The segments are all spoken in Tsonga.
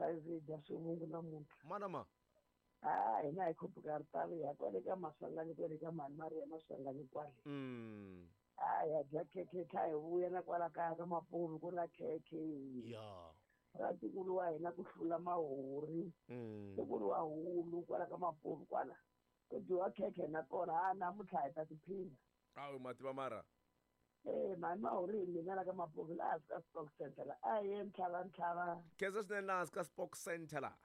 Hi dya swivungu namuntlha. Mana ma. Ah, hina hi khuphuka ri tali ya kwale ka Maswanganyi kwale ka mhani Maria Maswanganyi kwale. Ah, ya dya khekhe tlha hi vuya na kwala kaya ka Mapuvi ku na khekhe. Ya. Ra ntukulu wa hina ku hlula mahori. Ntukulu wa hulu kwala ka Mapuvi kwala. Ku dyiwa khekhe na kona ha namuntlha hi ta tiphina. Awu ma tiva mara. Eh, mhani Mahori hi mina la ka Mapuvi laha hansi ka Spock Center la. A hi ye ntlhava ntlhava. Khensa swinene laha hansi ka Spock Center la.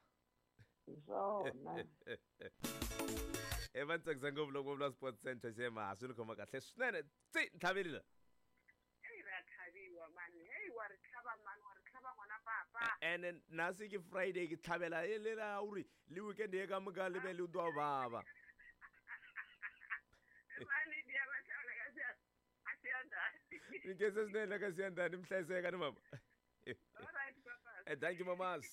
Hi swona. E va ni tsakisa ngopfu loko va vula Sports Center xema swi ni khoma kahle swinene. Tsi ntlhaveli la. Hey ra tlhaviwa mani. Hey wa ri tlhava mani, wa ri tlhava n'wana papa. Ene nasi ke Friday ke tlhavela e le la uri le weekend ye ka moka le be le twa baba. Mani dia va tlhavela ka siya. A siyandani. Ni khensa swinene la ka siyandani mi hlayiseka ni mama. All right papa. Eh, thank you mamas.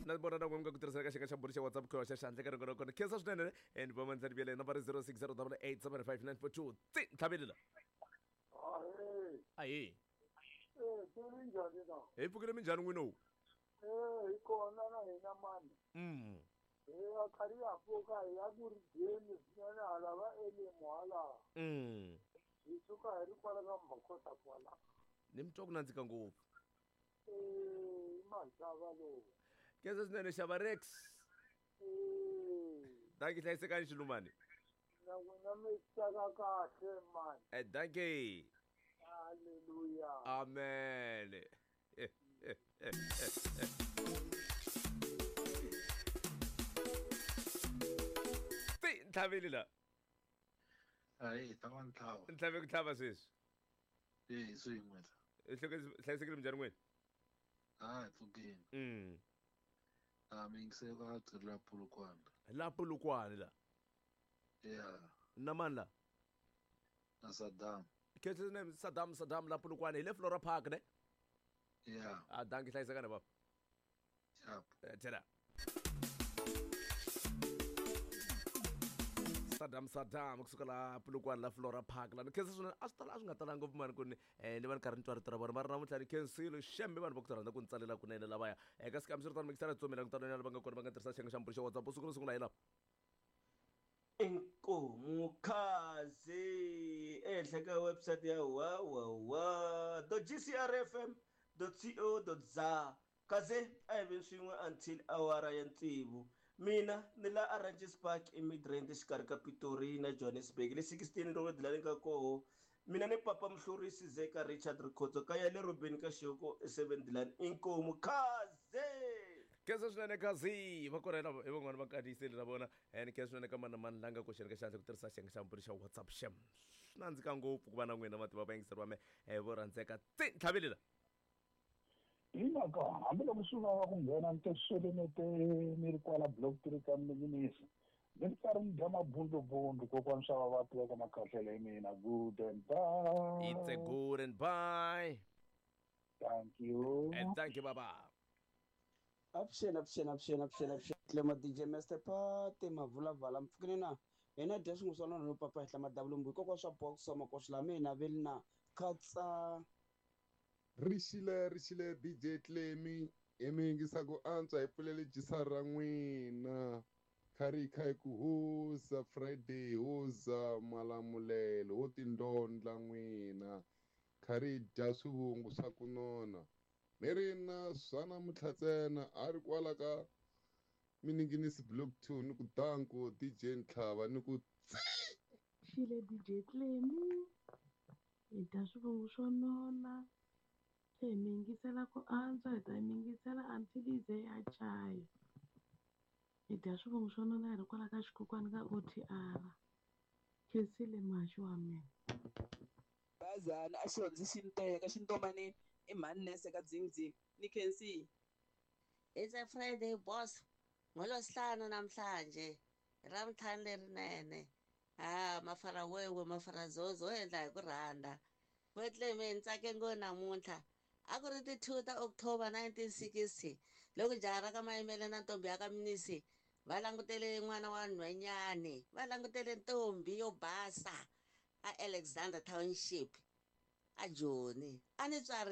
Na vona na n'we ku tirhisana ka xeka xa mbhuri xa WhatsApp ku xa xandla ka ringo ra kona. Khensa swinene and va mandla ni nambara 0608875942. Tsi ntlhaveli la. Ahee. Ahee. Eh, se minjhani na? Hi pfukile minjhani n'wini lowu? Eh, hi kona na hina mani. Hi ya karhi ya pfuka hi ya ku ri dyeni swinene hala va elimu hala. Hi suka hi ri kwala ka Mbhokota kwala. Ni mi twa ku nandzika ngopfu. Eh, i maxava lowu. Khensa swinene xava Rex. Eh. Dankie hlayisekani xilumani. Na n'wina mi tsaka kahle mani. Eh, dankie. Hallelujah. Amen. Ti ntlhaveli la. Ayi, ta va ntlhava. Ntlhave ku tlhava sweswi. Eh, swin'we la. Hlayisekile minjhani n'wini? Ah, hi pfukile. Ah, mi yingisela ka tirhi la Polokwane. La Polokwane la. Yeah. Na mani la? Na Saddam. Khensa swinene Saddam Saddam la Polokwane hi le Flora Park ne? Yeah. Ah, dankie hlayisekani baba. Sharp. Eh, tshela. Saddam Saddam kusuka la Polokwane la Flora Park la ni khensa swinene a swi tala a swi nga talanga ngopfu mani ku ni ni va ni karhi ni twa rito ra vona mara namuntlha ni khensile xembe vanhu va ku rhandza ku ni tsalela kunene lavaya eka sikami swi ri tano mikisana tsomela ku tano lava nga kona va nga tirhisa xiyenge xa mbhuri xa WhatsApp siku ro sungula hi lava Inkomu khazi ehenhla ka website ya www dot gcrfm dot co dot za kaze a hi veni swin'we until awara ya tsevu mina ni la Oranges Park eMidrand exikarhi ka Pitori na Johannesburg le 16 road la ni nga koho mina ni papa Mhlurisi Zeka Richard Rikhotso ka ya le Robeni ka Xihoko e7 Dilan inkomu khaze. Khensa swinene khazi va kona hi van'wana va kandziyiseli na vona and khensa swinene ka mani na mani la nga koxeni ka xandla ku tirhisa xiyenge xa mbhuri xa WhatsApp xem swi nandzika ngopfu ku va na n'wina mativa vayingiseri va me vo rhandzeka tsi ntlhaveli la. Hi mhaka hambiloko swi vava ku nghena ni tesweleni te ni ri kwala block 3 ka Minginisi ni ri karhi ni dya mabundubundu kokwani swa va va tiva ka makhahlele hi mina good and bye. It's a good and bye. Thank you. And thank you baba. Avuxeni avuxeni avuxeni avuxeni avuxeni Clema DJ Master Pate mavulavala mpfukini na hina dya swin'we swa nona no papa henhla madavulumbu hikokwalaho swa box swa makoxo lama hina veli na khatsa. Rixile rixile DJ Clemi hi mi yingisa ku antswa hi pfulele jisa ra n'wina kha ri kha hi ku hoza Friday hoza malamulelo ho tindondla n'wina kha ri dya swivungu swa ku nona ni ri na swa namuntlha ntsena a ri kwala ka Mininginisi Block 2 ni ku danko DJ Ntlhava ni ku tsi. Xile DJ Clemi hi dya swivungu swo nona se hi mi yingisela ku antswa hi ta mi yingisela until yi ze ya chaya hi dya swivungu swo nona hi ri kwala ka xikhukhwana ka OTR khensile muhaxi wa mina. Bazana a xi hundzi xi ni teka xi ni tomanini i mhani nese ka dzingdzing ni khensile. It's a Friday boss ngolwesihlanu namhlanje ravuntlhanu lerinene ha mafara wewe mafara zozo wo endla hi ku rhandza Bethlehem ni tsake ngo namuntlha a ku ri ti 2 ta October 1960 loko jaha ra ka Mayimele na ntombi ya ka Mnisi va langutele n'wana wa nhwenyani va langutele ntombi yo basa a Alexander Township a Joni a ni tswari.